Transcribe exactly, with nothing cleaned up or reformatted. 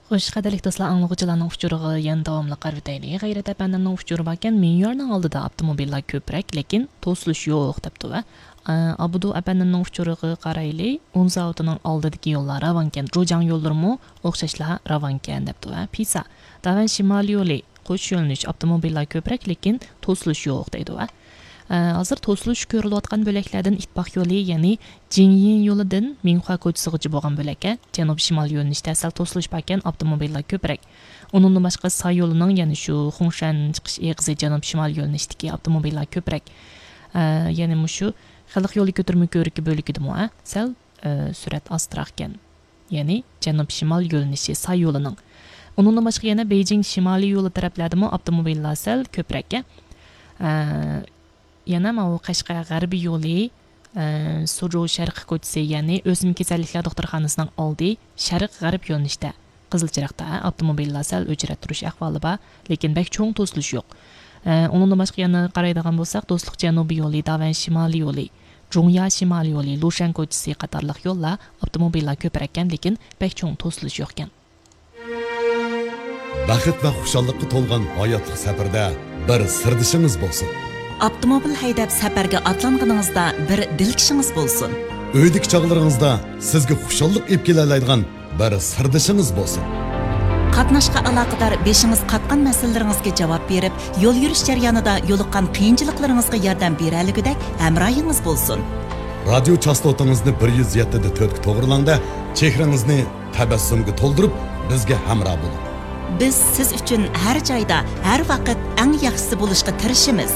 خوش، قەدىرلىك دوستلار، ئاڭلىغۇچىلارنىڭ ئۇچۇرىغا يەنە داۋاملىق قارىۋېتەيلى. غەيرەت ئەپەندىمنىڭ ئۇچۇرى باركەن، مېيارنىڭ ئالدىدا ئاپتوموبىللار كۆپرەك، لېكىن توسۇلۇش يوق، دەپتۇ. ۋە، ئە، ئابدۇ ئەپەندىمنىڭ ئۇچۇرىغا قارايلى. ئۇن زاۋۇتىنىڭ ئالدىدىكى يوللار راۋانكەن، جۇجياڭ يوللىرىمۇ ئوخشاشلا راۋانكەن، دەپتۇ. ۋە پىسا، داۋەن شىمالىي يولى، قوش يۆنىلىش ئاپتوموبىللار كۆپرەك، لېكىن توسۇلۇش يوق، دەيدۇ. ۋە، ئە، ھازىر توسۇلۇش كۆرۈلۈۋاتقان بۆلەكلەردىن ئىتتىپاق يولى، يەنى جىڭيىن يولىدىن مىڭخۇا كوچىسىغىچە بولغان بۆلەككە جەنۇب شىمال يۆنىلىشتە سەل توسۇلۇش باركەن، ئاپتوموبىللار كۆپرەك. ئۇنىڭدىن باشقا ساي يولىنىڭ، يەنى شۇ خۇڭشەن چىقىش ئېغىزى جەنۇب شىمال يۆنىلىشتىكى ئاپتوموبىللار كۆپرەك. ئە، يەنى مۇشۇ خەلق يولى كۆتۈرمە كۆۋرۈكى بۆلىكىدىمۇ، ئە، سەل، ئە، سۈرئەت ئاستىراقكەن. يەنى جەنۇب شىمال يۆنىلىشى ساي يولىنىڭ. ئۇنىڭدىن باشقا يەنە بېيجىڭ شىمالىي يولى تەرەپلەردىمۇ ئاپتوموبىللار سەل كۆپرەك. ئە، يەنە ماۋۇ قەشقەر غەربىي يولى، ئە، سۇجۇ شەرقىي كوچىسى، يەنى ئۆسمە كېسەللىكلەر دوختۇرخانىسىنىڭ ئالدى شەرق غەرب يۆنىلىشتە قىزىل چىراغدا، ئاپتوموبىللار سەل ئۆچرەت تۇرۇش ئەھۋالى بار، لېكىن بەك چوڭ توسۇلۇش يوق. ئە، ئۇنىڭدىن باشقا يەنە قارايدىغان بولساق، دوستلۇق جەنۇبىي يولى، داۋەن شىمالىي يولى، جۇڭيا شىمالىي يولى، لۇشەن كوچىسى قاتارلىق يوللار ئاپتوموبىللار كۆپرەككەن، لېكىن بەك چوڭ توسۇلۇش يوقكەن. بەخت ۋە خۇشاللىققا تولغان ھاياتلىق سەپىرىدە بىر سىردىشىڭىز بولسۇن. ئاپتوموبىل ھەيدەپ سەپەرگە ئاتلانغىنىڭىزدا بىر دىلكىشىڭىز بولسۇن. ئۆيدىكى چاغلىرىڭىزدا سىزگە خۇشاللىق ئېلىپ كېلەلەيدىغان بىر سىردىشىڭىز بولسۇن. قاتناشقا ئالاقىدار بېشىڭىز قاتقان مەسىلىلىرىڭىزگە جاۋاب بېرىپ، يول يۈرۈش جەريانىدا يولۇققان قىيىنچىلىقلىرىڭىزغا ياردەم بېرەلىگۈدەك ھەمراھىڭىز بولسۇن. رادىيو چاستوتىڭىزنى بىر يۈز يەتتە دە تۆتكە توغرىلاڭدا، چېھرىڭىزنى تەبەسسۇمگە تولدۇرۇپ، بىزگە ھەمراھ بولۇڭ. بىز سىز ئۈچۈن ھەر جايدا، ھەر ۋاقىت ئەڭ ياخشىسى بولۇشقا تىرىشىمىز.